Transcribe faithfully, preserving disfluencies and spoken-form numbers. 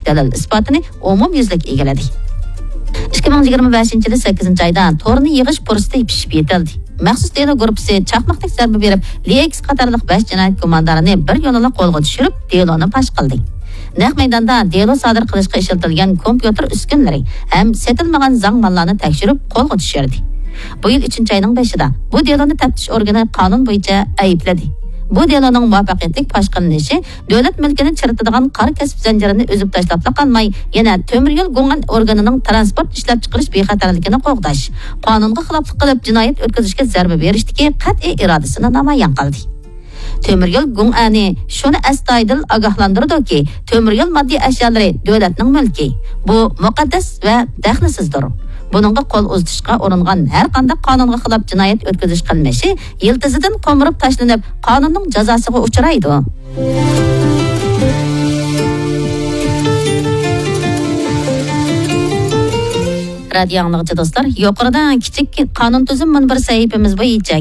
دەلىل ئىسپاتىنى ئومۇميۈزلۈك ئىگىلىدى. ئىككى مىڭ يىگىرمە بەشىنچى يىلى سەككىزىنچى ئايدا تورنى يىغىش پۇرسىتى پىشىپ يېتىلدى. مەخسۇس دېلو گۇرۇپپىسى چاقماقتەك زەربە بېرىپ، لېكس قاتارلىق بەش جىنايەت گۇماندارىنى بىر يولىلا قولغا چۈشۈرۈپ، دېلونى پاش قىلدى. نەق مەيداندا دېلو سادىر قىلىشقا ئىشلىتىلگەن كومپيۇتېر ئۈسكۈنىلىرى ھەم سېتىلمىغان زاڭ ماللارنى تەكشۈرۈپ، قولغا چۈشۈردى. بۇ يىل ئۈچىنچى ئاينىڭ بېشىدا بۇ دېلونى تەپتىش ئورگىنى قانۇن بويىچە ئەيىبلىدى. بۇ دېلونىڭ مۇۋەپپەقىيەتلىك پاش قىلىنىشى دۆلەت مۈلكىنى چىرىتىدىغان قارا كەسىپ زەنجىرىنى ئۈزۈپ تاشلاپلا قالماي، يەنە تۆمۈر يول گۇڭئەن ئورگىنىنىڭ تىرانسپورت ئىشلەپچىقىرىش بىخەتەرلىكىنى قوغداش، قانۇنغا خىلاپلىق قىلىپ جىنايەت ئۆتكۈزۈشكە زەربە بېرىشتىكى قەتئىي ئىرادىسىنى نامايان قىلدى. تۆمۈر يول گۇڭئەنى شۇنى ئەستايىدىل ئاگاھلاندۇرىدۇكى، تۆمۈر يول ماددىي ئەشيالىرى دۆلەتنىڭ مۈلكى. بۇ مۇقەددەس ۋە دەخلىسىزدۇر. بۇنىڭغا قول ئۇزىتىشقا ئۇرۇنغان ھەر قانداق قانۇنغا خىلاپ جىنايەت ئۆتكۈزۈش قىلمىشى يىلتىزىدىن قومۇرۇپ تاشلىنىپ، قانۇننىڭ جازاسىغا ئۇچرايدۇ. رادىيو ئاڭلىغۇچى دوستلار، يۇقىرىدا كىچىك قانۇن تۈزۈم مۇنبىرى سەھىپىمىز بويىچە